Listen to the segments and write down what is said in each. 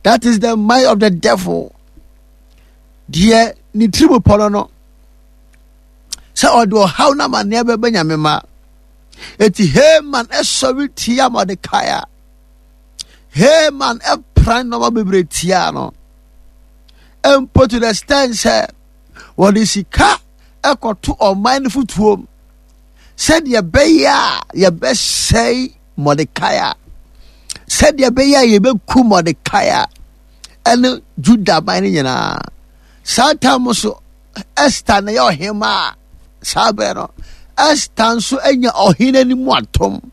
That is the mind of the devil. Deɛ ne tirim pɔ no no sɛ ɔde ɔhaw no amanneɛ bɛbɛ nyame ma. Eti Haman ɛsɔre tia Mordecai a Haman ɛpran nneɛma bebree tia no. Mpo to the extent sɛ wɔde sika ɛkɔto ɔman no fotuom sɛdeɛ ɛbɛyɛ a yɛbɛsɛe Mordekai a sɛdeɛ ɛbɛyɛ a yɛbɛku Mordekai a ɛne Juda man no nyinaa. Saa tam so Esther na ɛyɛ ɔhemmaa saa berɛ no Esther nso anya ɔhene anim atom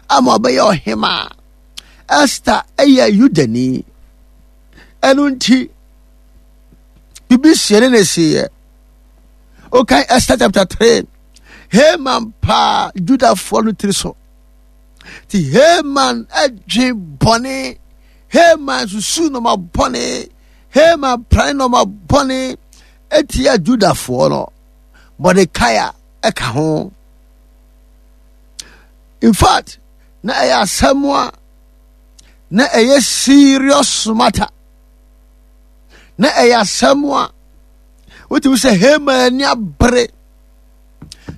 ama ɔbɛyɛ ɔhemmaa. Esther yɛ Yudani ɛno nti biribi sie ne ne seeɛ. Wokan Esther chapter 3 Haman paa Judafoɔ no tiri so. Nti Haman adwe bɔne, Haman susu nɔma bɔne, Haman prane nɔma bɔne etia Judafoɔ no. Mordecai ɛka ho. In fact, na ɛyɛ asɛm a na ɛyɛ serious matter. Na ɛyɛ asɛm a wotumi sɛ Haman ani abere.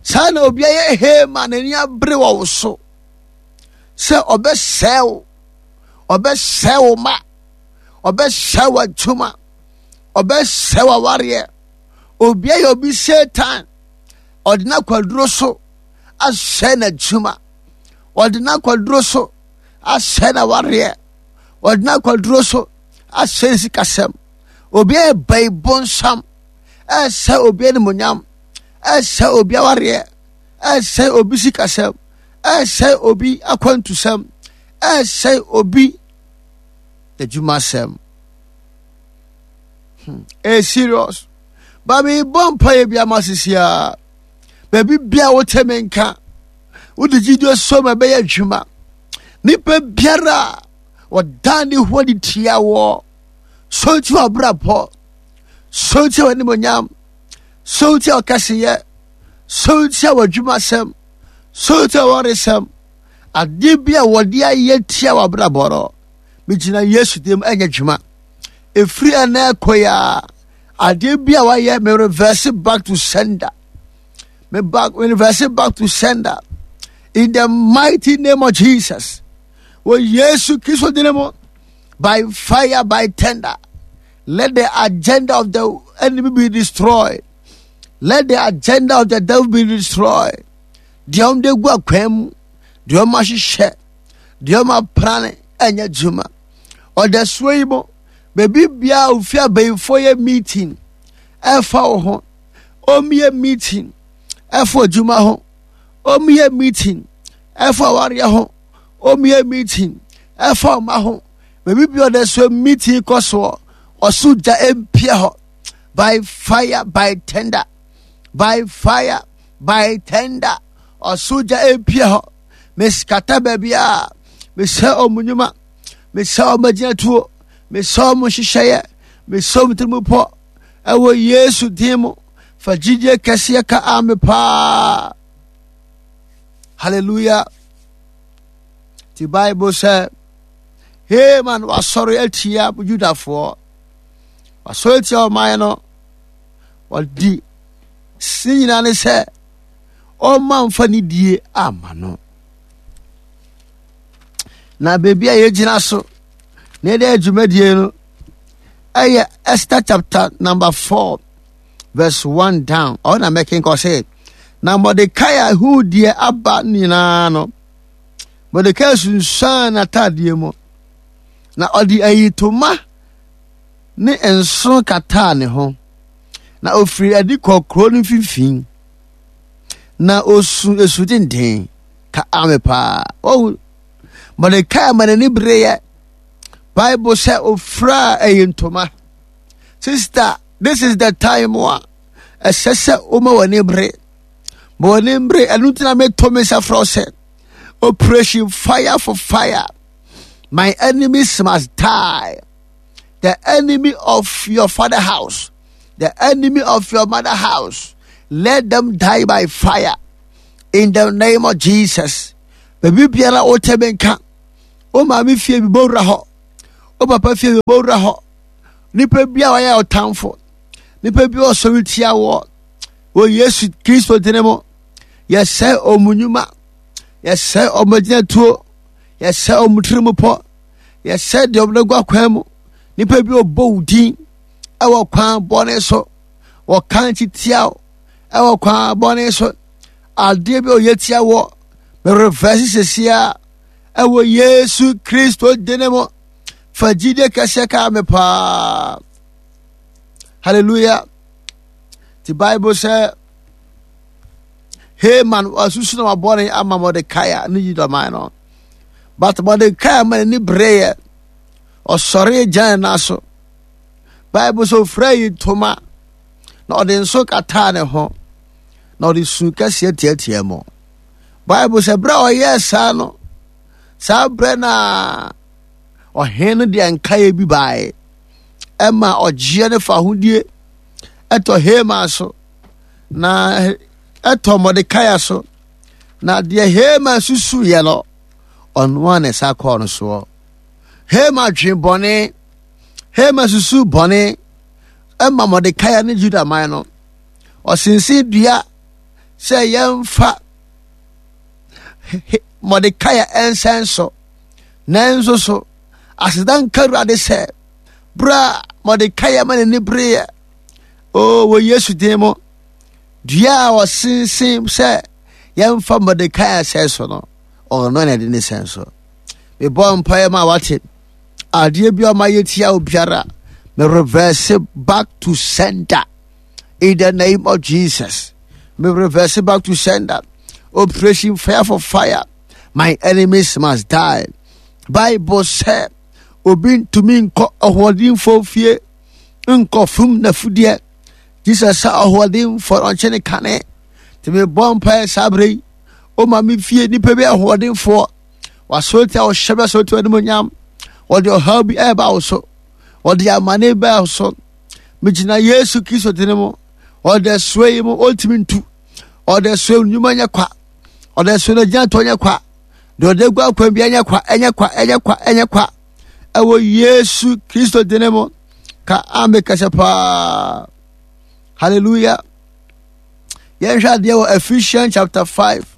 Saa na obi ayɛ Haman n'ani abere wɔ wo so sɛ ɔbɛsɛe wo, ɔbɛsɛe wo ma, ɔbɛsɛe w'adwuma, ɔbɛsɛe w'awareɛ. Obi ayɛ obi Satan, ɔde n'akwaduro so asɛe n'adwuma, ɔde n'akwaduro so asɛe n'awareɛ, ɔde n'akwaduro so asɛe ne sikasɛm. Obi ayɛ bayi bonsam, ɛsɛ obi animonyam, ɛsɛ obi awareɛ, ɛsɛ obi sikasɛm, ɛsɛ obi akwantusɛm, ɛsɛ obi adwumasɛm. Ɛyɛ serious. Ba mebɔ mpaeɛ bi ama sisi a baabi bia wote me nka wode gyidie so ma ɛbɛyɛ adwuma. Nipa biara a wɔdan ne ho adi tia wɔ so nti w'abrabɔ, so nti w'animonyam, so nti ɔkɛseyɛ, so nti w'adwumasɛm, so nti w'awaresɛm, adeɛ bi a wɔde ayɛ tia w'abrabɔ no, megyina Yesu dim ɛnyɛ adwuma. Ɛfiri ɛnɛ ɛkɔ yi a, adeɛ bi a wayɛ me reverse back to sender. Me back, me reverse back to sender. In the mighty name of Jesus. Wɔ Yesu Kristo din mu, by fire, by thunder. Let the agenda of the enemy be destroyed. Let the agenda of the devil be destroyed. Deɛ wɔn de gu akwan mu, deɛ wɔn ahyehyɛ, deɛ wɔn aprane ɛnyɛ adwuma. Ɔdasuo yi mu, baabi biara ofi abayinfoɔ yɛ meeting ɛfa wo ho, wɔn yɛ meeting ɛfa adwuma ho, wɔn yɛ meeting ɛfa awareɛ ho, wɔn yɛ meeting ɛfa ɔma ho. Baabi biara ɔdasuo meeting kɔ soɔ, ɔso gya mpia hɔ by fire by thunder, by fire by thunder, ɔso gya mpia hɔ. Meskata baabi a mesɛ ɔmo nnwuma, mesɛ ɔmo agyinatuo, mesɛ ɔmo nhyehyɛeɛ, mesɛ ɔmo tirimupɔ ɛwɔ Yesu din mu. Fa gyidie kɛseɛ ka ame paa. Hallelujah. Ti Bible sɛ Haman wasɔre atia Judafoɔ, wasɔre atia ɔman no, wɔdi ne nyinaa ne sɛ ɔmma mfa ne die ama no. Na baabi a yɛgyina so na yɛde adwumadie no ɛyɛ Esther chapter number 4 verse 1 down. Ɔno na mɛkenka ɔsɛ na Mordekai huu deɛ aba nyinaa no, Mordekai sunsuan n'ataadeɛ mu, na ɔde ayitoma ne nso kataa ne ho, na ofiri adi kɔɔ kuro no mfimfini, na osu esu denden ka ame paa. Wɔn Mordekai ma n'ani bereɛ. Bible sɛ ofura ayi ntoma. Sister, this is the time a ɛsɛ sɛ woma w'ani bere. Ma w'ani bere, ɛno nti na meto me nsa frɛ wo sɛ operation fire for fire. My enemies must die. The enemy of your father house, the enemy of your mother house, let them die by fire. In the name of Jesus. Baabi biara wote me nka, wo maame fie bi bɔwura hɔ, Wo papa fie bɛbɔ wura hɔ. Nipa bi a ɔyɛ ɔtamfo, nipa bi a ɔsɔre tia wɔ wɔ Yesu Kristo dini mu. Yɛsɛe wɔn nnwuma, yɛsɛe wɔn agyinatuo, yɛsɛe wɔn tirimupɔ, yɛsɛe deɛ wɔn agu akwan mu. Nipa bi ɔbɔ wo din ɛwɔ kwan bɔne so, wɔka nkyi tia wo ɛwɔ kwan bɔne so. Adeɛ bi a ɔyɛ tia wɔ, merefɛse sesia ɛwɔ Yesu Kristo dini mu. Fa gyidie kɛseɛ kaa me paa. Hallelujah. The Bible sɛ Haman wasusu na wabɔne ama Mordecai ne Yudaman no. But Mordecai ma n'ani bereeɛ. Ɔsɔre gyina ne nan so. Bible sɛ ofura yi ntoma na ɔde nso kataa ne ho na ɔde su kɛseɛ teatea mu. Bible sɛ berɛ a ɔyɛɛ saa no, saa berɛ no a ɔhene no deɛ nkaeɛ bi baeɛ ɛma ɔgyeɛ ne fahodie ɛtɔ Haman so na ɛtɔ Mordecai so na deɛ Haman susuiɛ no ɔno a ne nsa kɔɔ no soɔ. Haman dwen bɔne, Haman susu bɔne ɛma Mordecai ne Juda man no. Ɔsensen dua sɛ yɛmfa Mordecai ɛnsɛn so. Nanso so aseda nka Awurade sɛ berɛ a Mordecai ma n'ani bereeɛ o wɔ Yesu din mu dua a ɔsensen sɛ yɛmfa Mordecai sɛn so no ɔno na ɛde ne sɛn so. Mebɔ mpaeɛ ma wate adeɛ bi a ɔma yɛtia obiara me reverse back to sender in the name of Jesus. Me reverse back to sender. Operation fire for fire. My enemies must die. Bible sɛ obi ntumi nkɔ ɔhoɔdenfoɔ fie nkɔ fum n'afudeɛ. Jesus sɛ ɔhoɔdenfoɔ no ɔnkye ne kane. Nti mebɔ mpaeɛ saa berɛ yi. O ma me fie nipa bi ahoɔdenfoɔ. Wasɔre tia ɔhyɛ bi asɔre tia animonyam. Wɔde ɔhaw bi ɛreba wo so. Wɔde amane bɛɛ wo so. Megyina Yesu Kristo dini mu. Ɔde soa yi mu ɔntumi ntu. Ɔde soa nnwuma nyɛ kwa. Ɔde soa no gyina tɔ nyɛ kwa. Deɛ ɔde gu akwan bi ɛnyɛ kwa, ɛnyɛ kwa, ɛnyɛ kwa, ɛnyɛ kwa. Ɛwɔ Yesu Kristo dini mu. Ka ame kɛse paa. Hallelujah. Yɛnhwɛ adeɛ wɔ Ephesians chapter 5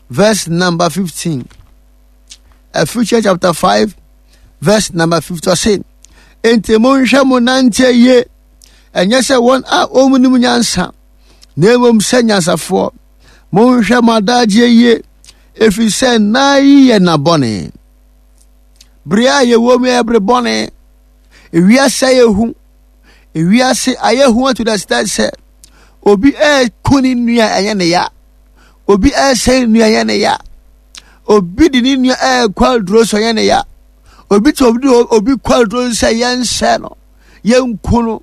verse number 15. Ephesians chapter 5 verse number 15 ɔse enti monhwɛ mo nanteɛ yie ɛnyɛ sɛ wɔn a wɔnnim nyansa na mmom sɛ nyansafoɔ monhwɛ mo adagyeɛ yie ɛfiri sɛ nna yi yɛ nna bɔne bere a yɛwɔ mu yɛ bere bɔne ewiase ayɛ hu ewiase ayɛ hu to the extent sɛ obi ɛɛko ne nua ɛnyɛ ne ya obi ɛresɛe ne nua ɛnyɛ ne ya obi de ne nua ɛrekɔ aduro so ɛnyɛ ne ya obi te obi de obi kɔ aduro so sɛ yɛnsɛ no yɛnku no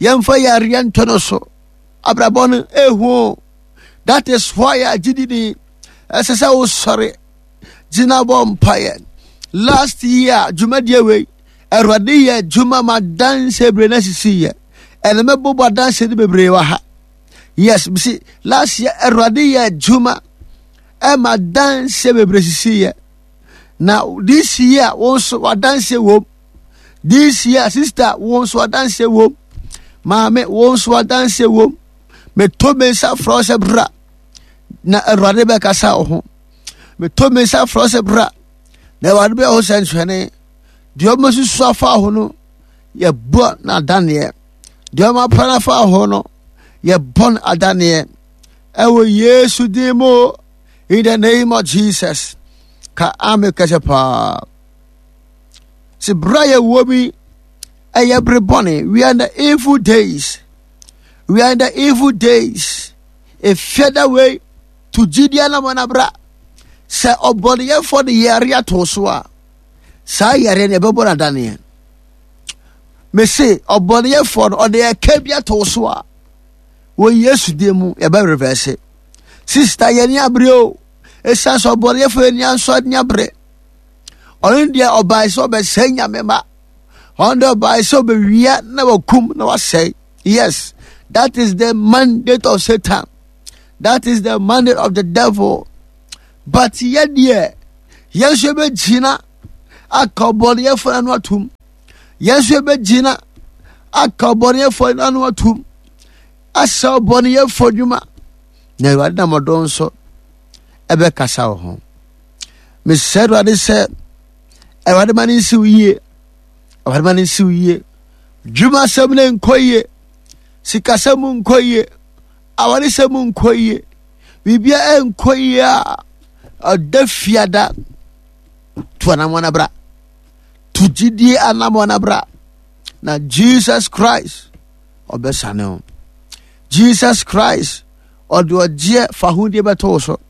yɛmfa yareɛ nto no so abrabɔ no ehu that is why a gyidi ni ɛsɛ sɛ wosɔre gyina bɔ mpaeɛ last year dwumadie wei awurade yɛ adwuma ma danse bebree na sisi yɛ ɛna mɛbobɔ adanse no bebree wɔ ha yes mesi last year awurade yɛ adwuma ɛma danse bebree sisi yɛ na this year wɔn nso wadanse wɔm this year sister wɔn nso wadanse wɔm maame wɔn nso wadanse wɔm meto me nsa frɛ sɛ bra na awurade bɛkasa wo ho meto me nsa frɛ sɛ bra na awurade bɛyɛ ho sɛnkyerɛnne deɛ ɔma susu afa ho no yɛbɔ no adaneɛ deɛ ɔma pra no afa ho no yɛbɔ no adaneɛ ɛwɔ yesu din mu in the name of jesus ka ame kɛsɛ paa sɛ berɛ a yɛwɔ bi ɛyɛ bere bɔne we are in the evil days we are in the evil days efia da wei to gyidie na mɔna bra sɛ ɔbɔneyɛfoɔ de yare ato so a saa yare no ɛbɛbɔ no adaneɛ mese ɔbɔneyɛfoɔ no ɔde ɛka bi ato so a wɔ yesu din mu yɛbɛ reverse sista yɛni abere o ɛsiane sɛ ɔbɔneyɛfoɔ yɛni ansɔ ani abere ɔno deɛ ɔbae sɛ ɔbɛsɛe nyame ma ɔno deɛ ɔbae sɛ ɔbɛwia na wakum na wasɛe yes that is the mandate of satan that is the mandate of the devil but yɛ deɛ yɛn nso yɛbɛgyina. aka ɔbɔneyɛfoɔ no ano atom. Yɛn nso yɛbɛgyina aka ɔbɔneyɛfoɔ no ano atom asɛ ɔbɔneyɛfoɔ dwuma na Awurade nam ɔdɔ nso ɛbɛkasa wɔ ho. Mesrɛ Awurade sɛ Awurade ma no nsiw yie. Awurade ma no nsiw yie. Dwumasɛm no nkɔ yie. Sikasɛm nkɔ yie. Awaresɛm nkɔ yie. Biribiara nkɔ yie a ɔda fiada tu anamɔ no bra. Tu gyidie anamɔ no bra. Na Jesus Christ ɔbɛsane wo. Jesus Christ ɔde ɔgyeɛ fahodie bɛto wo so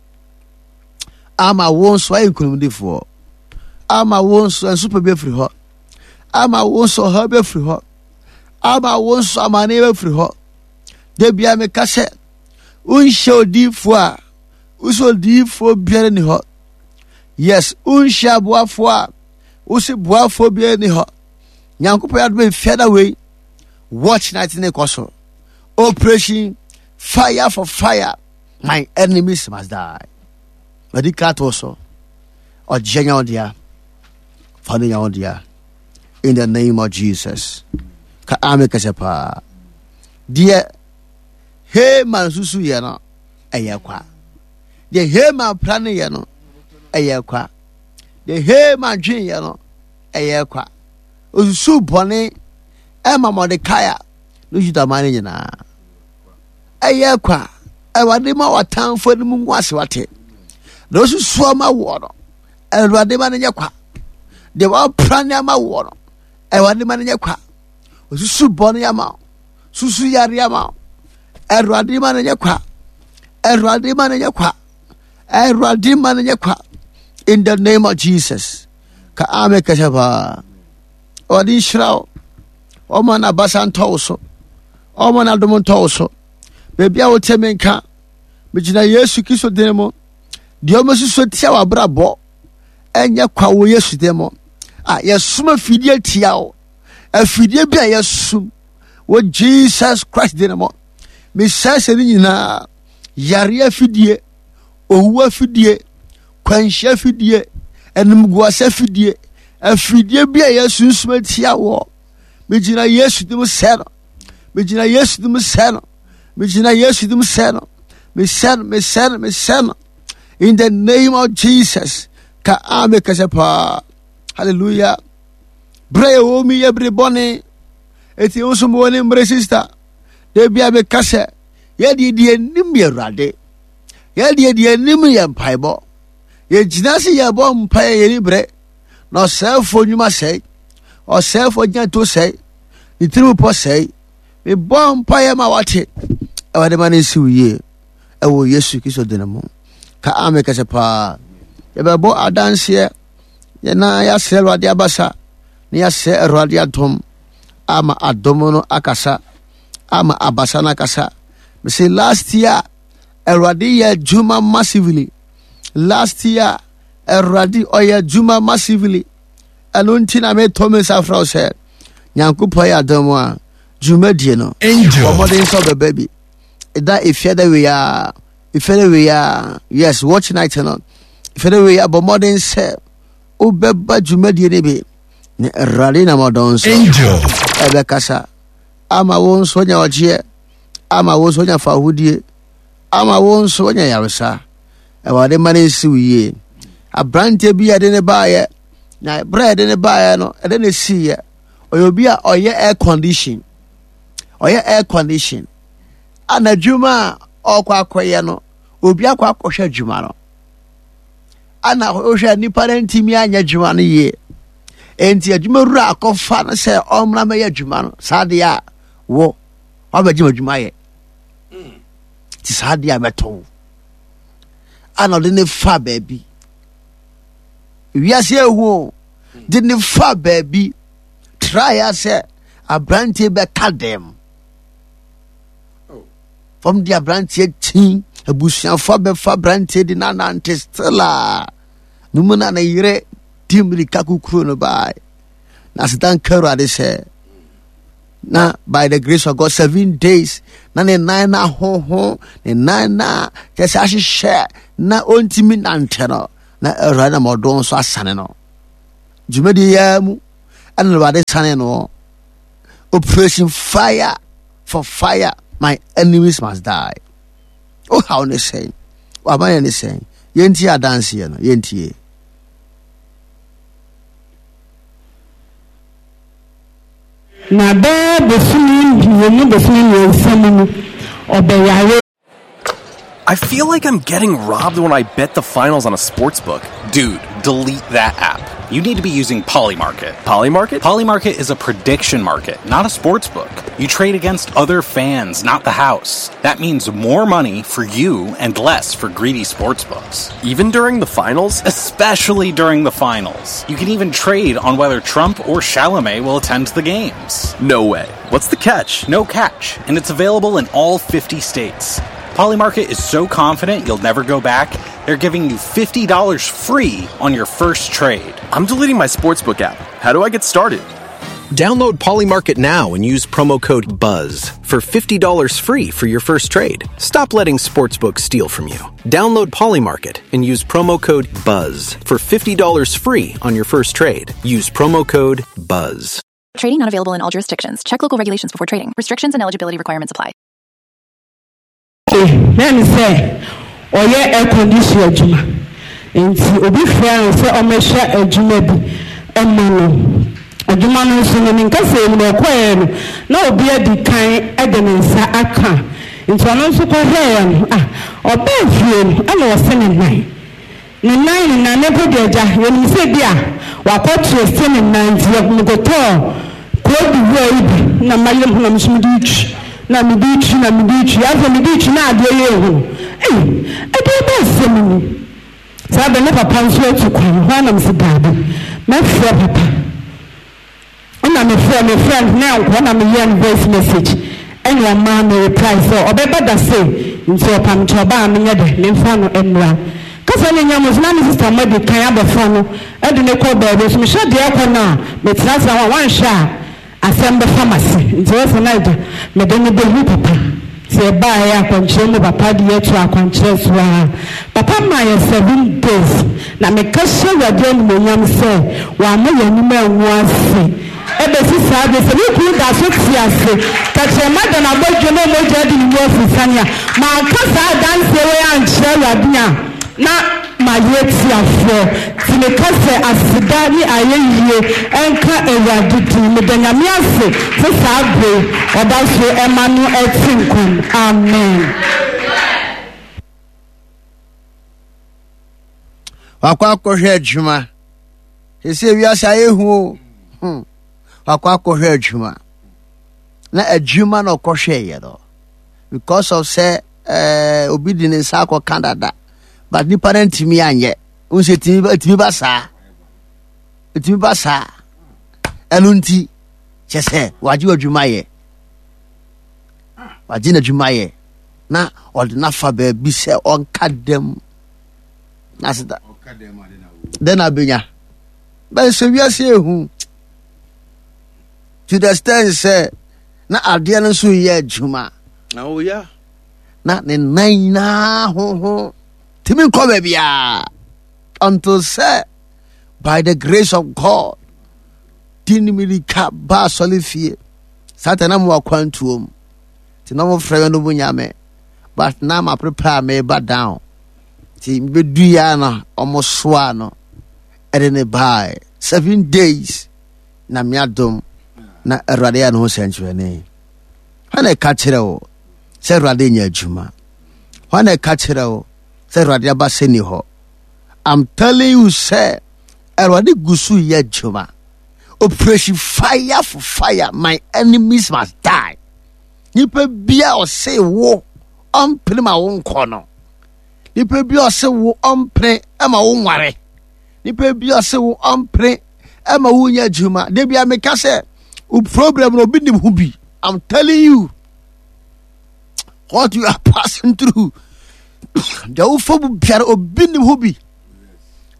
ama wo nso ayɛ nkonimdifoɔ ama wo nso nsopɛ bi afiri hɔ ama wo nso ɔhaw bi afiri hɔ ama wo nso amane bi afiri hɔ da bia meka sɛ wonhyɛ odiyifoɔ a wosɛ odiyifoɔ biara ni hɔ yes wonhyɛ aboafoɔ a wosɛ boafoɔ biara ni hɔ nyankopɔn adom mfiada wei watch night ne kɔ so operation fire for fire my enemies must die madi ka to so ɔgyeɛ nya wo dea fa no nya wo dea in the name of jesus ka ame kɛsɛ paa deɛ Haman susu yɛ no ɛyɛ kwa deɛ Haman pra no yɛ no ɛyɛ kwa deɛ Haman dwen yɛ no ɛyɛ kwa osusu bɔne ɛma Mordecai ne Judaman no nyinaa ɛyɛ kwa Awurade ma w'atamfo anim ngu ase wate na osusu ama woɔ no Awurade ma no nyɛ kwa deɛ wapra ne ama woɔ no Awurade ma no nyɛ kwa osusu bɔne ama wo susu yare ama wo Awurade ma no nyɛ kwa Awurade ma no nyɛ kwa Awurade ma no nyɛ kwa in the name of Jesus ka amen kɛsɛ paa Awurade nhyira wo ɔma n'abasa ntɔ wo so ɔma n'adom ntɔ wo so baabi a wote me nka megyina yesu kristo din mu deɛ ɔmɛsusu tia w'abrabɔ ɛnyɛ kwa wɔ yesu din mu a yɛsom afidie tia wo afidie bi a yɛsom wɔ jesus christ din mu mesɛe sɛ ne nyinaa yare afidie owu afidie kwanhyia afidie animguase afidie afidie bi a yɛasunsum atia wɔ megyina yesu dim sɛ no megyina yesu dim sɛ no megyina yesu dim sɛ no mesɛ no mesɛ no mesɛ no in the name of jesus ka ame kɛsɛ paa hallelujah berɛ yɛ wɔ mu yɛ bere bɔne eti nso mewɔ ne mmere sista da bia meka sɛ yɛdeɛ deɛ nim yɛ awurade Yɛn deɛ deɛ anim yɛ mpaebɔ. Yɛgyina se yɛbɔ mpaeɛ yɛni berɛ na ɔsɛefoɔ nnwuma sɛe, ɔsɛefoɔ gyinato sɛe, ne tirim pɔ sɛe. Mebɔ mpaeɛ ma wate Awurade ma no nsi wo yie ɛwɔ Yesu Kristo din mu. Ka ame kɛsɛ paa. Yɛbɛbɔ adanseɛ yɛna yɛasrɛ Awurade abasa na yɛasrɛ Awurade adom ama adom no akasa ama abasa no akasa. Mese last year Awurade yɛ adwuma massively. Last year, Awurade ɔyɛ adwuma massively. Ɛno nti na metɔ me nsa frɛ wo sɛ Nyankopɔn yɛ adom a dwumadie no bɔ mmɔden sɛ ɔbɛba bi. Ɛda efiada wei a efiada wei a yes watch night no efiada wei a bɔ mmɔden sɛ wobɛba dwumadie no bi na Awurade nam ɔdɔn so ɛbɛkasa ama wo nso anya ɔgyeɛ ama wo nso anya fahodie ama wo nso anya yaresa Awurade ma no nsi wo yie aberanteɛ bi a ɛde ne baeɛ na berɛ a ɛde ne baeɛ no ɛde ne siiɛ ɔyɛ obi a ɔyɛ air condition ɔyɛ air condition a n'adwuma a ɔkɔ akɔyɛ no obi akɔ akɔhwɛ adwuma no ana wohwɛ nipa no ntumi anyɛ adwuma no yie enti adwuma wura akɔfa no sɛ ɔmmra mɛyɛ adwuma no saa deɛ a wo wabɛgye m'adwuma yɛ nti saa deɛ a mɛtɔ wo ana ɔde ne fa baabi wiase ehu o de ne fa baabi traeɛ sɛ aberanteɛ bɛka dɛm fam de aberanteɛ kyi abusuafoɔ bɛfa aberanteɛ de nanante still a ne mu na ne yere di mmirika kukuro no bae na aseda nka awurade sɛ na by the grace of God 7 days na ne nan na ahoho ne nan na kyɛ sɛ ahyehyɛ na ɔntumi nante no na awurade na ɔdɔ nso asane no. Dwumadie yi ara mu ɛna Awurade sane no. Operation Fire for Fire, my enemies must die. Wohaw ne sɛn? W'abayɛ ne sɛn? Yɛntie adanseɛ no, yɛntie. Na bɛyɛ bosome mmienu bosome mmiɛnsa mu no, ɔbɛyare. I feel like I'm getting robbed when I bet the finals on a sports book. Dude, delete that app. You need to be using Polymarket. Polymarket? Polymarket is a prediction market, not a sports book. You trade against other fans, not the house. That means more money for you and less for greedy sportsbooks. Even during the finals? Especially during the finals. You can even trade on whether Trump or Chalamet will attend the games. No way. What's the catch? No catch, and it's available in all 50 states. Polymarket is so confident you'll never go back, they're giving you $50 free on your first trade. I'm deleting my sportsbook app. How do I get started? Download Polymarket now and use promo code BUZZ for $50 free for your first trade. Stop letting sportsbooks steal from you. Download Polymarket and use promo code BUZZ for $50 free on your first trade. Use promo code BUZZ. Trading not available in all jurisdictions. Check local regulations before trading. Restrictions and eligibility requirements apply. Na ne sɛ ɔyɛ air condition adwuma nti obi frɛɛ no sɛ ɔmmɛhwɛ adwuma bi mma no. Adwuma no nso no, ne nkasɛɛ mu no ɔkɔeɛ no na obi adi kan de ne nsa aka nti ɔno nso kɔhwɛeɛ no, ah, ɔbaa fie no ɛna ɔse ne nan. Ne nan ne nan, me mpo deɛ agya, yɛnim sɛ bi a wakɔ twiste ne nan nti yɛ mekɔtɔɔ Cote d'Ivoire yi bi na mayere me ho na me nso mede retwi na mede retwi na mede retwi afei mede retwi na adeɛ yɛ ehu no ei ɛdeɛ bɛn asɛm ni saa bɛ ne papa nso atu kwan hɔ a na mese daabi mɛfrɛ papa Ɛna me frɛ me frɛ no na ɛnkɔ na me yɛɛ no voice message ɛna ɔmaa me reply sɛ ɔbɛba da sei nti ɔpam nti ɔba a menyɛ dɛ memfa no mmra. Kasa no nnya mu nso na me sister mo adi kan abɛfa no de no kɔ baabi nso mehwɛ deɛ ɛkɔ no a metra ase a wanhwɛ a asɛm bɛfa m'ase nti ɛwɔ sɛ na agya mede no bɛhu papa. Nti yɛbaeɛ akwankyerɛ mu papa de yɛ too akwankyerɛ so ara. Papa maa yɛ seven days na meka hyɛ Awurade animuonyam sɛ wamma yɛn anim angu ase ɛbɛsi saa bere sɛ me kunu da so te ase tɛkyerɛma da n'abɔdwe na mogya adi ne mu afusane a manka saa adanseɛ wei ankyerɛ Awurade a na Mayɛ tiafoɔ, nti meka sɛ aseda ne ayɛyie nka Awurade din. Meda Nyame ase sɛ saa berɛ yi ɔda so ma no te nkwa mu. Amen. Wakɔ akɔhwɛ adwuma. Sɛ wiase ayɛ hu o. Hmm. Wakɔ akɔhwɛ adwuma. Na adwuma na ɔkɔhwɛeɛ no. Because of sɛ eh, obi de ne nsa akɔka dada. But nipa no ntumi anyɛ. Wohu sɛ ɛtumi ba saa. Ɛtumi ba saa. Ɛno nti, kyɛ sɛ wagye w'adwuma yɛ. Wagye n'adwuma yɛ. Na ɔde n'afa baabi sɛ ɔnka dɛm. Na sɛ dɛn na abɛnya. Bɛn sɛ wiase ehu. To the extent sɛ na adeɛ no nso yɛ adwuma. Na ɔyɛ. Na ne nan nyinaa hoho tumi nkɔ baabiara until sɛ by the grace of God di ne mirika ba asɔre fie saa ta na mo akwantuo mu nti na wɔfrɛ me no mu nyame but na ma prepare me ba down nti mebɛdu ya na wɔn soa no ɛde ne bae 7 days na me adom na awurade yɛ ne ho sɛnkyerɛnne. Hwan na ɛka kyerɛ wo sɛ awurade nyɛ adwuma? Hwan na ɛka kyerɛ wo sɛ awurade aba sɛ ni hɔ? I'm telling you sɛ awurade gu so yɛ adwuma. Operation fire for fire, my enemies must die. Nipa bia ɔse wo ɔmpene ma wo nkɔ no. Nipa bia ɔse wo ɔmpene ma wo nware. Nipa bia ɔse wo ɔmpene ma wo nyɛ adwuma. Da bia meka sɛ wo problem no obi nim ho bi. I'm telling you what you are passing through. Deɛ wofa mu biara obi nim ho bi.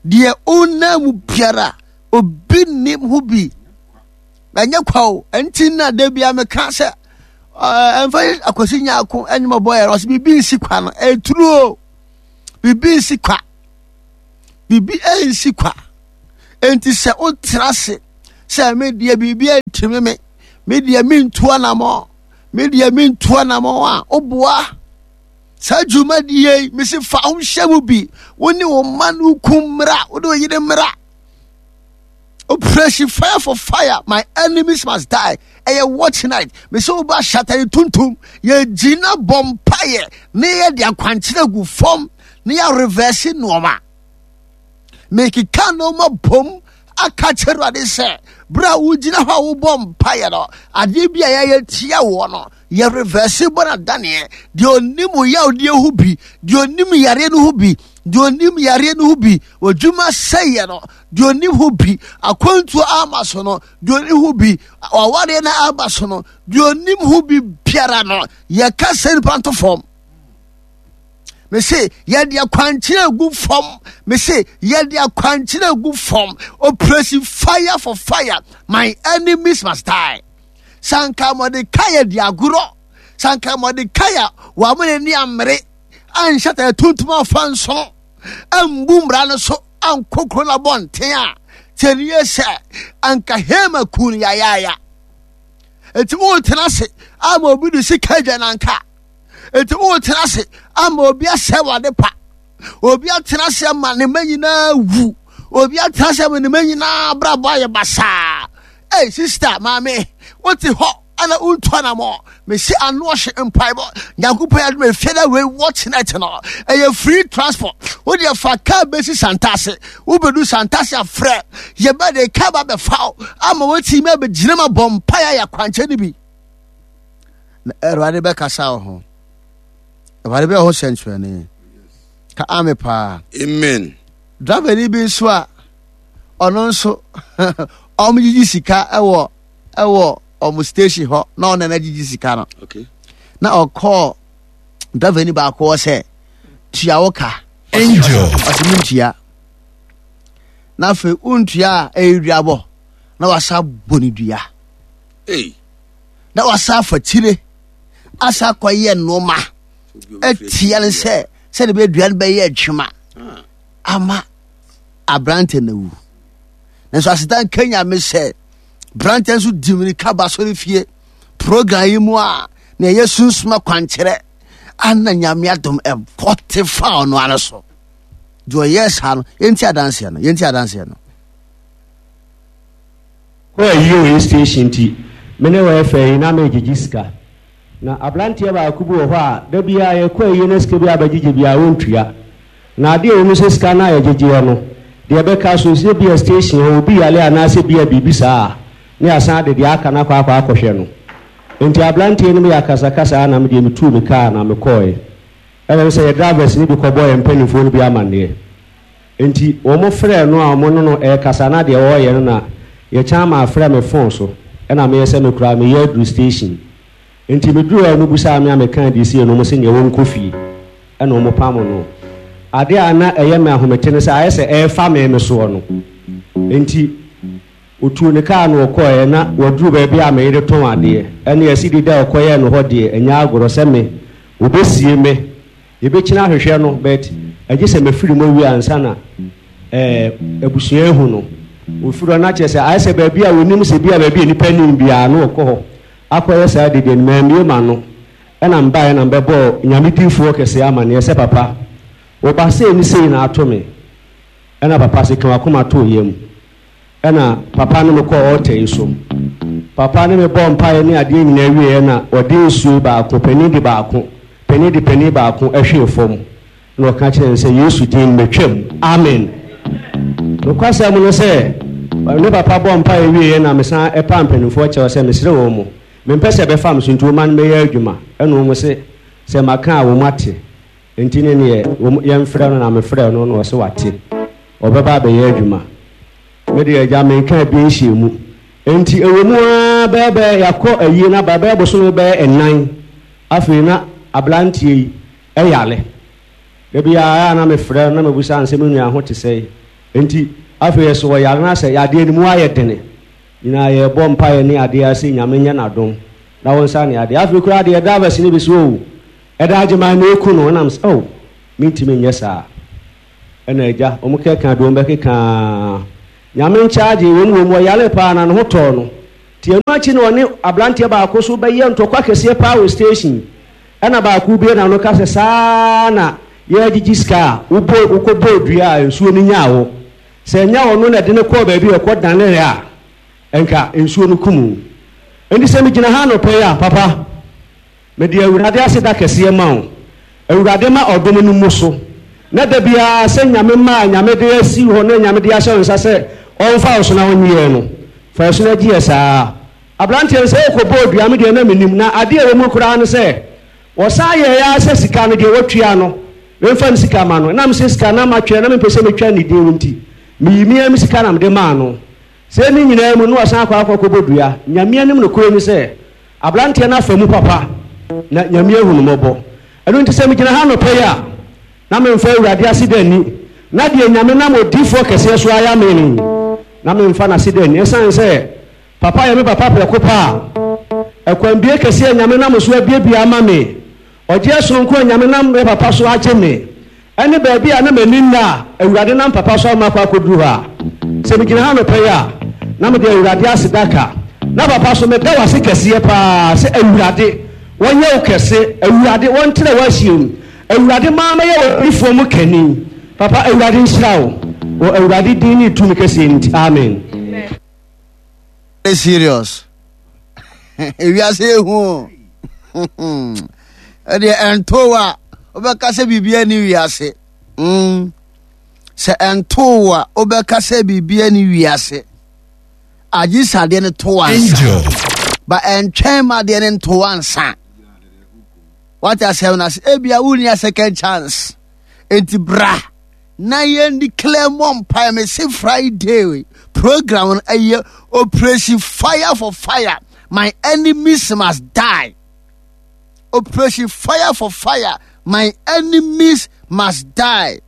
Deɛ wonam mu biara obi nim ho bi. Ɛnyɛ kwa o. Ɛnti na da bia meka sɛ ɛmfa akwasi nyaako ɛnyɛ mɔbɔ yɛ ɔsɛ biribi nsi kwa no ɛturu o. Biribi nsi kwa. Biribi ɛnsi kwa. Enti sɛ wotra ase sɛ me deɛ biribi antumi me, me deɛ mentu anamɔ, me deɛ mentu anamɔ a, woboa. Saa dwumadie yi, mesi fa wo hyɛ mu bi. Wo ne wo mma no ku mmra, wo ne wo yere mmra. Operation Fire for Fire, my enemies must die. Ɛyɛ watch night. Mesi wo ba hyatare tuntum. Yɛgyina bɔ mpaeɛ ne yɛde akwankyerɛ gu fam ne yɛ reverse nneɛma. Mekeka nneɛma bom aka kyerɛ Awurade sɛ berɛ a wogyina hɔ a wobɔ mpaeɛ no, adeɛ bi a yɛayɛ tia woɔ no, yɛ reverse bɔ no adaneɛ. Deɛ ɔnim wo yawdeɛ ho bi, deɛ ɔnim yareɛ no ho bi, deɛ ɔnim yareɛ no ho bi, w'adwuma sɛeɛ no, deɛ ɔnim ho bi, akwantuo ama so no, deɛ ɔnim ho bi, awareɛ no aba so no, deɛ ɔnim ho bi biara no, yɛka sɛ nipa nto fam. Mese yɛde akwankyerɛ gu fam. Mese yɛde akwankyerɛ gu fam. Operation fire for fire. My enemies must die. Sanka Mordecai di agorɔ. Sanka Mordecai wɔn ani ammere anhyɛ tɛ tuntum afa nso ambu mmara no so ankɔ kuro no abɔnten a tiɛnie sɛ anka Haman kun yayaaya. Eti wotena ase ama obi de sika adwa nanka. Enti wotena ase ama obi asɛe w'ade pa. Obi atena ase ama ne mma nyinaa wu. Obi atena ase ama ne mma nyinaa abrabɔ ayɛ basaa. Ei, sista, maame, wote hɔ ana wontu anamɔ. Mesi ano ɔhye mpaebɔ. Nyankopɔn adom efie na wei watch night no. Ɛyɛ free transport. Wo deɛ fa kaa bɛsi Santase. Wobɛdu Santase afrɛ. Yɛbɛ de kaa ba bɛfa wo ama woatumi abɛgyina ma bɔ mpaeɛ ayɛ akwankyɛ no bi. Na Awurade bɛkasa wo ho. Awurade bɛyɛ ho sɛnkyerɛnne. Ka ame paa. Amen. Driver bi nso a ɔno nso ɔmo gyigyi sika ɛwɔ ɛwɔ ɔmo station hɔ na ɔno na gyigyi sika no. Okay. Na ɔkɔɔ driver ni baako hɔ sɛ tua wo ka. Angel. Ɔsɛ mi ntua. Na afei wontua a ɛyɛ duabɔ na wasa bɔ ne dua. Hey. na wasa afa tire asa akɔyɛ nnoɔma atia no sɛ sɛde bɛyɛ dua no bɛyɛ adwuma ama aberante no awu nanso aseda nka nyame sɛ berante nso di mirika ba sɔre fie program yi mu a na ɛyɛ sunsum akwankyerɛ ana nyame adom ɛbɔ te fa ɔno ara so deɛ ɔyɛ saa no yɛnti adanseɛ no yɛnti adanseɛ no Kɔ ayie wɔ station nti me ne wɛɛfɛɛ yi na megyegye sika. Na abranteɛ baako bi wɔ hɔ a da biara yɛkɔ ayie na sika bi a bɛgyegye biara ɔntua. Na adeɛ a ɛwɔ mu sɛ sika no a yɛgyegyeɛ no deɛ ɛbɛka so sɛ ebia station hɔ obi yare anaasɛ ebia biribi saa a na yɛasan de deɛ aka no akɔ akɔ akɔhwɛ no. Nti abranteɛ no mu yɛ akasakasa a na me deɛ metuu me kaa na mekɔɔɛ. Ɛna ɛsɛ sɛ yɛ drivers no bi kɔbɔ yɛn mpaninfoɔ no bi amanneɛ. Enti wɔfrɛɛ no a wɔne no rekasa na deɛ ɔreyɛ no na yɛkyan maa frɛ me phone so ɛna meyɛ sɛ me koraa meyɛ aduru station. Enti meduru hɔ a wɔbisaa me a mekaa deɛ ɛsiiɛ no wɔse neɛ wɔnkɔ fie ɛna wɔpamo no. Adeɛ a na ɛyɛ me ahomete ne sɛ ayɛ sɛ ɛrefa me me soɔ no enti ɔtuu ne kaa no ɔkɔeɛ na waduru baabi a me yere tɔn adeɛ ɛne ɛse dede a ɔkɔyɛɛ no hɔ deɛ ɛnyɛ agorɔ sɛ me wɔbɛsie me Yɛbɛkyini ahwehwɛ no but ɛgye sɛ mafiri mu awie ansa na eh, abusua ahu no. Wɔfiri hɔ na kyerɛ sɛ ayɛ sɛ baabi a wɔnim sɛ bi a baabi a nnipa nnim biara na wɔkɔ hɔ akɔyɛ saa dede no. Mammue m'ano ɛna mebaeɛ na mebɛbɔɔ Nyame difoɔ kɛseɛ amaneɛ sɛ papa, wo ba sei ne sei na ato me. Ɛna papa se ka w'akoma to wo yam. Ɛna papa ne me kɔɔ altar yi so. Papa ne me bɔɔ mpaeɛ ne adeɛ nyinaa wieɛ na ɔde nsuo baako, panin de baako, panin de panin baako hwee fam. Ɛna ɔka kyerɛɛ no sɛ, Yesu din mu matwam. Amen. Nokwasɛm no sɛ, ne papa bɔɔ mpaeɛ wieɛ na mesan paa mpanimfoɔ kyɛw sɛ mesrɛ wɔn mo, mempɛ sɛ ɛbɛfa me so nti wɔmma no mmɛyɛ adwuma. Ɛna wɔn se sɛ maka a wɔn ate. Nti ne neɛ wɔn yɛmfrɛ no na mefrɛɛ no na ɔse wate. Ɔbɛba abɛyɛ adwuma. Me deɛ agya menka bi nhyɛɛ mu. Enti ɛwɔ mu ara bɛyɛ bɛyɛ yɛakɔ ayie no aba bɛyɛ bosome bɛyɛ nnan afei na abranteɛ yi yare. Da biara ɛyɛ a na mefrɛ no na mebisa no sɛ me nua ho te sɛn. Enti afei ɛso ɔyare no asɛ yadeɛ no mu ayɛ dene. Nyinaa yɛrebɔ mpaeɛ ne adeɛ ara sɛ Nyame nyɛ n'adom na ɔnsa ne yadeɛ. Afei koraa deɛ drivers no bi sɛ oh ɛda Agyeman na ɛku no ɛna mesɛ oh mentumi nyɛ saa. Ɛna agya, wɔn kɛka de wɔn bɛkeka ara. Nyame nkyagye, wom wom ɔyaree paa na ne ho tɔɔ no. Nti ɛno akyi na ɔne abranteɛ baako so bɛyɛɛ ntɔkwa kɛseɛ paa wɔ station. Ɛna baako bue n'ano ka sɛ saa na yɛregyegye sika a wobɔ wokɔbɔɔ dua a nsuo no nyaa wo. Sɛ ɛnyɛ ɔno na ɛde no kɔɔ baabi a ɛkɔ daneeɛ a, nka nsuo no kum wo. Enti sɛ megyina ha anɔpa yi a, papa, mede Awurade aseda kɛseɛ ma wo. Awurade ma ɔdom no mmu so. Na da biara sɛ Nyame mma a Nyame de asi hɔ na Nyame de ahyɛ wo nsa sɛ ɔmfa wo so na ɔnye yɛn no, fa yɛn so na gye yɛn saa. Aberanteɛ no sɛ ɔkɔbɔɔ dua me deɛ na mennim, na adeɛ a ɛwɔ mu koraa ne sɛ wɔsan yɛeɛ ara sɛ sika no deɛ watua no memfa ne sika ma no. Ɛnam sɛ sika no na matwerɛ na mempɛ sɛ metwa ne din nti, meyii me ara me sika na mede maa no. Sɛ ne nyinaa mu no na wasan akɔ akɔbɔ dua. Nyame anim nokorɛ ni sɛ aberanteɛ no afa mu papa na Nyame ahu no mmɔbɔ. Ɛno nti sɛ megyina ha anɔpa yi a, na memfa Awurade aseda nni, na deɛ Nyame nam odiyifoɔ kɛseɛ so ayɛ ame no yi, na memfa n'aseda nni. Ɛsiane sɛ papa yɛ me papa prɛko pɛ a, ɛkwanbue kɛseɛ a Nyame nam so abuebue ama me, Ɔgyeɛ sononko a Nyame nam me papa so agye me, ɛne baabi a na m'ani nna a Awurade nam papa so ama makɔ akɔduru hɔ a, sɛ megyina ha anɔpa yi a, na mede Awurade aseda ka. Na papa so meda wo ase kɛseɛ paa sɛ Awurade wɔnyɛ wo kɛse, Awurade wɔntrɛ w'ahyeɛ mu, Awurade maa mɛyɛ w'adiyifoɔ mu kani. Papa Awurade nhyira wo wɔ Awurade din ne tumi kɛseɛ no nti, amen. Serious. Ewiase ehu o. Ɛdeɛ ɛnto a wobɛka sɛ biribi ani wiase. Mm. Sɛ ɛnto a wobɛka sɛ biribi ani wiase. Agye sɛ adeɛ no to ansa. Ba ɛntwɛn ma adeɛ no nto ansa. Wate asɛm no ase. Ebia wonni a second chance. Enti bra. Na yɛn declare mmɔ mpaeɛ. Mese Friday program no ɛyɛ operation fire for fire. My enemies must die. Operation fire for fire. My enemies must die.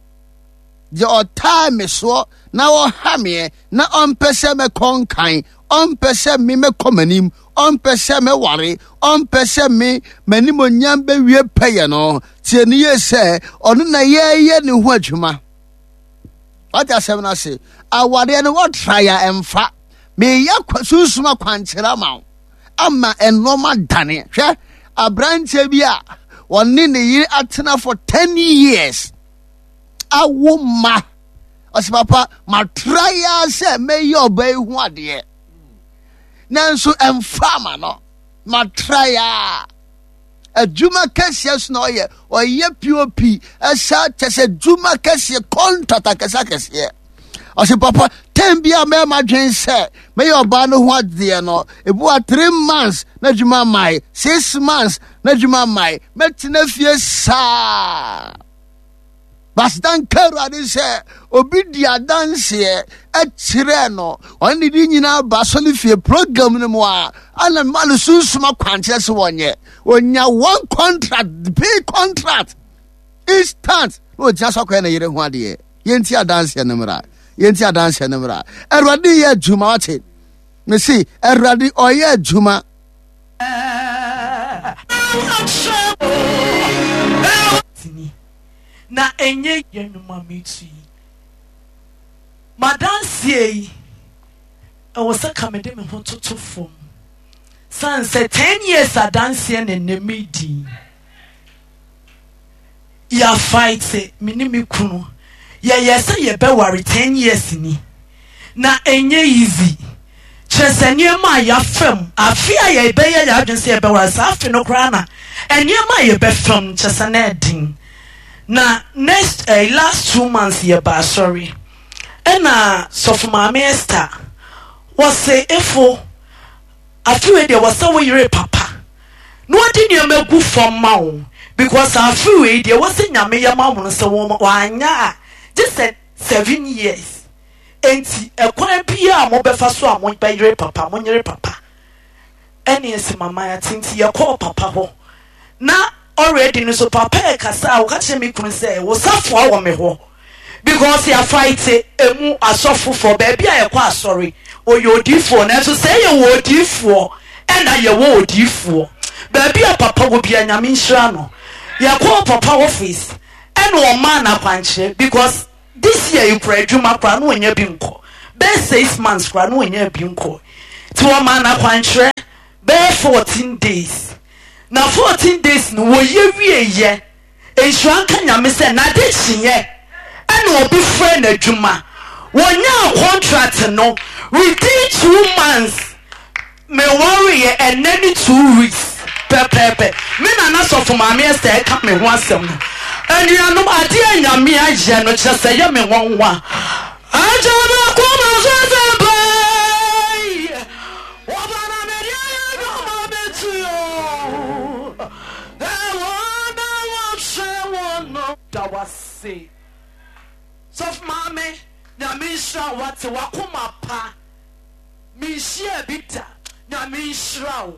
Deɛ ɔtaa me soɔ na ɔha meɛ na ɔmpɛ sɛ mɛkɔ nkan, ɔmpɛ sɛ me mɛkɔ m'anim, ɔmpɛ sɛ mɛware, ɔmpɛ sɛ me m'animonyam bɛwie pɛyɛ no, tie ne yie sɛ ɔno na yɛreyɛ ne ho adwuma. Wate asɛm no ase? Awareɛ no wɔtra yɛ ɛmfa. Meyɛ sunsum akwankyerɛ ama wo ama nneɛma dane. Hwɛ aberanteɛ bi a ɔne ne yere atena for 10 years. Awo mma. Ɔsɛ papa matra ya sɛ mɛyɛ ɔbaa yi ho adeɛ. Nanso ɛmfa ama no. Matra ya. Adwuma kɛseɛ so na ɔyɛ. Ɔyɛ POP ɛsa kyɛ sɛ adwuma kɛseɛ contract akɛseɛ akɛseɛ. Ɔsɛ papa tɛn bi a mɛma dwen sɛ mɛyɛ ɔbaa no ho adeɛ no ebi wa three months na adwuma mae six months na adwuma mae mɛtena fie saa. Pastor nka Awurade sɛ obi di adanseɛ kyerɛɛ no ɔne ne de nyinaa ba asɔre fie program no mu a ana ma no sunsum akwankyerɛ sɛ wɔnyɛ onya one contract big contract instant na ogyina so akɔyɛ ne yere ho adeɛ yɛnti adanseɛ no mmra yɛnti adanseɛ no mmra Awurade yɛ adwuma wate mese Awurade ɔyɛ adwuma. Na ɛnyɛ yɛ nnwom a metu yi. M'adanseɛ yi, ɛwɔ sɛ ka mede me ho toto fam. Sane sɛ 10 years adanseɛ na ɛnnɛ medi. Yɛafaete, me ne me kunu. Yɛyɛɛ sɛ yɛbɛware 10 years ni. Na ɛnyɛ easy. Kyerɛ sɛ nneɛma a yɛafa mu, afe a yɛbɛyɛ yɛn adwene sɛ yɛbɛware, saa afe no koraa na nneɛma a yɛbɛfa mu, kyerɛ sɛ na ɛden. Na next eh, last 2 months yɛba asɔre, ɛna sɔfo maame Esther wɔse efo afe wei deɛ wɔsɛ wo yere papa na wɔde nneɛma gu fam ma wo because afe wei deɛ wɔsɛ Nyame yɛ ma wo no sɛ wɔn wɔanyɛ a gye sɛ 7 years. Enti ɛkwan biara a mobɛfa so a mobɛyere papa, monyere papa. Ɛne ɛsi mama ate nti yɛkɔɔ papa hɔ. Na already no so papa ɛkasa a ɔka kyerɛ me kunu sɛ wo safoa wɔ me hɔ because yɛafaete emu asɔfofoɔ baabi a yɛkɔ asɔre ɔyɛ odiifoɔ nanso sɛ yɛwɔ odiifoɔ ɛna yɛwɔ odiifoɔ baabi a papa wɔ bia Nyame nhyira no. Yɛkɔɔ papa office ɛna ɔmaa no akwankyerɛ because this year yi koraa adwuma koraa na ɔnya bi nkɔ. Bɛyɛ 6 months koraa na ɔnyaa bi nkɔɔ. Nti wɔmaa no akwankyerɛ bɛyɛ 14 days. Na 14 days no wɔyɛ wieeɛ. Nhyira nka Nyame sɛ n'ade kyeeɛ ɛna obi frɛɛ no adwuma. Wɔnyaa contract no within 2 months. Me wareeɛ ɛnnɛ ne 2 weeks pɛpɛɛpɛ. Me nana Sɔfo Maame Esther ɛka me ho asɛm no. Anuanom adeɛ a Nyame ayɛ no kyerɛ sɛ ɛyɛ me nwanwa. Agya m'akoma so asɛmpa yi, Ɔba na mede ayɛ adwuma bɛtu o. Ɛwɔ na wɔhwɛ wɔn no. Da wase Sɔfo Maame, Nyame nhyira wo wate, wakoma pa. Menhyiaa bi da. Nyame nhyira wo.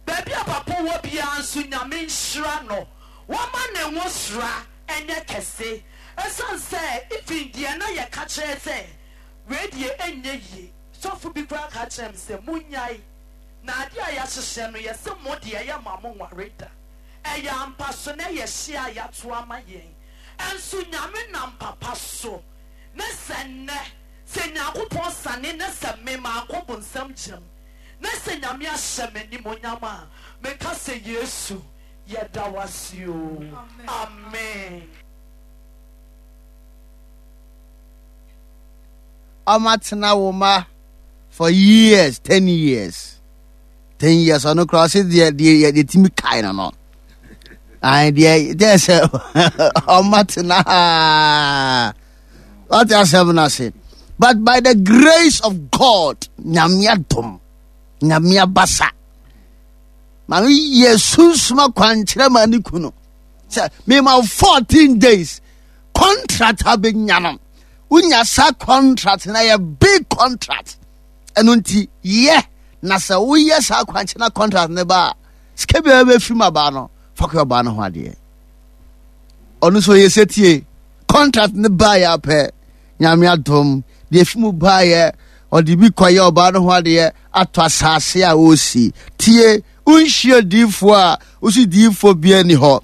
Baabi a papa wɔ biara nso Nyame nhyira no. Wama ne nwosra nyɛ kɛse. Ɛsiane sɛ even deɛ na yɛka kyerɛ sɛ wei deɛ ɛnyɛ yie. Sɔfo bi koraa ka kyerɛɛ me sɛ monnyae. Na adeɛ a yɛahyehyɛ no yɛse mo deɛ yɛmma mo nware da. Ɛyɛ ampa so na ɛyɛ hye a yɛato ama yɛn. Nso Nyame nam papa so ne sɛ nnɛ Sɛ Nyankopɔn sane na sɛ me mankɔ bonsam gyam na sɛ Nyame ahyɛ me animonyam a, meka sɛ Yesu yɛda wo ase oo. Amen. Ɔma tena wo ma for years, 10 years, 10 years. Ɔno koraa ɔse deɛ deɛ timi kae no. Ayi deɛ sɛ ɔma tena haa. Wate asɛm no ase? But by the grace of God, Nyame adom, Nyame abasa, maame yɛ sunsum akwankyerɛ ma ne kunu sɛ mema 14 days contract abɛnya no. Wonya saa contract na yɛ big contract. Ɛno nti yɛ na sɛ woyɛ saa akwankyerɛ na contract ne ba a, sika biara bɛfiri mu abaa no, fa kɔ ɔbaa no ho adeɛ. Ɔno nso yɛ sɛtie contract ne baeɛ apɛ. Nyame adom, deɛ fi mu baeɛ, ɔde bi kɔyɛ ɔbaa no ho adeɛ, atɔ asase a ɔresi. Tie, wonhyia diifoɔ a wosi diifoɔ biara ni hɔ,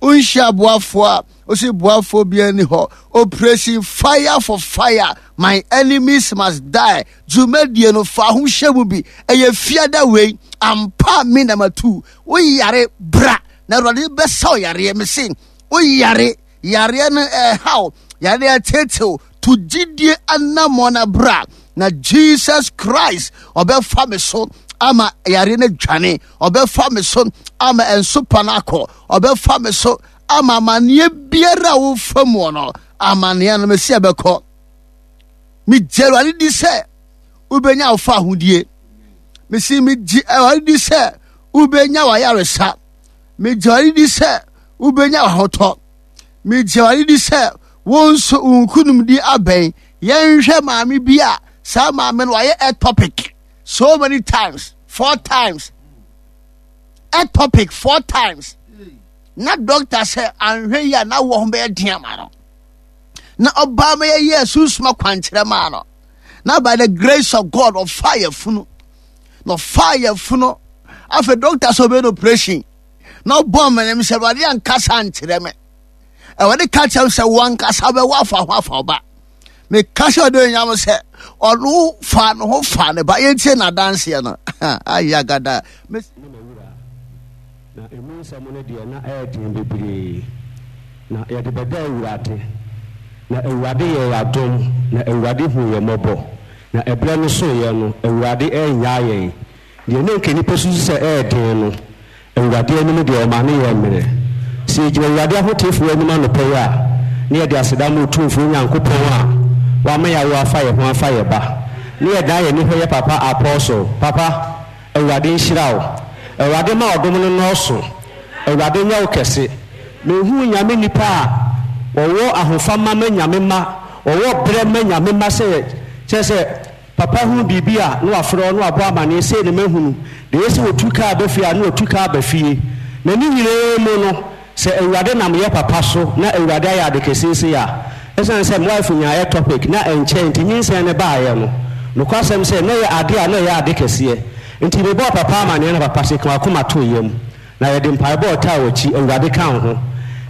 wonhyia aboafoɔ a wosi boafoɔ biara ni hɔ. Operation Fire for Fire, My Enemies Must Die dwumadie no, fa ho hyɛ mu bi. Ɛyɛ fiada wei ampa. Me na matu woyare, bra na Awurade bɛsa wo yareɛ. Mese woyare, yareɛ no ɛhaw, yareɛ ɛtetew, to gyidie anammɔn na bra na Jesus Christ ɔbɛfa me so ama yareɛ no adwane, ɔbɛfa me so ama ɛnsopa no akɔ, ɔbɛfa me so ama amanneɛ biara a wofa mu no, amanneɛ no mesi ɛbɛkɔ. Megye Awurade di sɛ wobɛnya wo fa ahodie. Mesi megye Awurade di sɛ wobɛnya w'ayaresa. Megye Awurade di sɛ wobɛnya w'ahotɔ. Megye Awurade di sɛ wo nso wo nkonimdi abɛn. Yɛnhwɛ maame bi a saa maame no wayɛ ectopic so many times, four times, ectopic four times, na doctor sɛ anhwɛ yi a na wɔ ho bɛyɛ den ama no, na ɔbaa ma yɛyɛ sunsum akwankyerɛ maa no, na by the grace of God ɔfaa yɛ funu na ɔfaa yɛ funu. Afei doctor sɛ ɔbɛyɛ no operation na ɔbɔ mmenem sɛ Awurade ankasa nkyerɛ me, Awurade ka kyerɛ sɛ wankasa bɛwɔ afa ho afa ɔba. Meka sɛ ɔde onyam sɛ ɔno fa ne ho fa ne ba. Yɛntie n'adanseɛ no ayagada. Ne m'awura, na emu nsɛm no deɛ na ɛyɛ den bebree, na yɛde bɛda Awurade. Na Awurade yɛɛ yɛn adom, na Awurade huu yɛn mmɔbɔ, na ɛberɛ no soeɛ no, Awurade annyaa yɛn. Deɛ na anka nnipa susu sɛ ɛyɛ den no, Awurade anim deɛ, ɔma no yɛɛ mmerɛ. Sɛ yɛgyina Awurade ahoteefoɔ anim anɔpa yi a, na yɛde aseda ma Otumfoɔ Nyankopɔn a wama yɛawo afa yɛn ho afa yɛn ba, na yɛdan yɛn ani hwɛ yɛn papa Apostle. Papa, Awurade nhyira wo. Awurade mma ɔdom no nnɔɔso. Awurade nyɛ wo kɛse. Menhuu Nyame nnipa a wɔwɔ ahofama ma Nyame mma, wɔwɔ berɛ ma Nyame mma sɛ, kyerɛ sɛ, Papa hunu biribi a, na wafrɛ wo na wabɔ amaneɛ, sei na mahunu. Deɛ ɛyɛ sɛ wɔtu kaa ba fie a, na watu kaa aba fie. Na ne nyinaa mu no, sɛ Awurade nam yɛ papa so na Awurade ayɛ ade kɛseɛ sei a, ɛsiane sɛ me wife nyaa ectopic na ɛnkyɛɛ nti nyinsɛn no baeɛ no, nokwasɛm sɛ na ɛyɛ adeɛ a na ɛyɛ ade kɛseɛ. Nti mebɔɔ papa amaneɛ na papa se, ka w'akoma to yam. Na yɛde mpaebɔ a ɔtaa w'akyi, Awurade ka wo ho.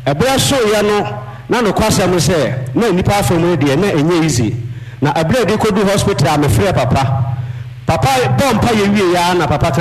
Ɛberɛ soeɛ no, na nokwasɛm ne sɛ, na nnipa afa mu no deɛ, na ɛnyɛ easy. Na ɛberɛ a yɛde kɔduu hospital a mefrɛɛ papa. Papa bɔɔ mpaeɛ wieeɛ ara na papa ka.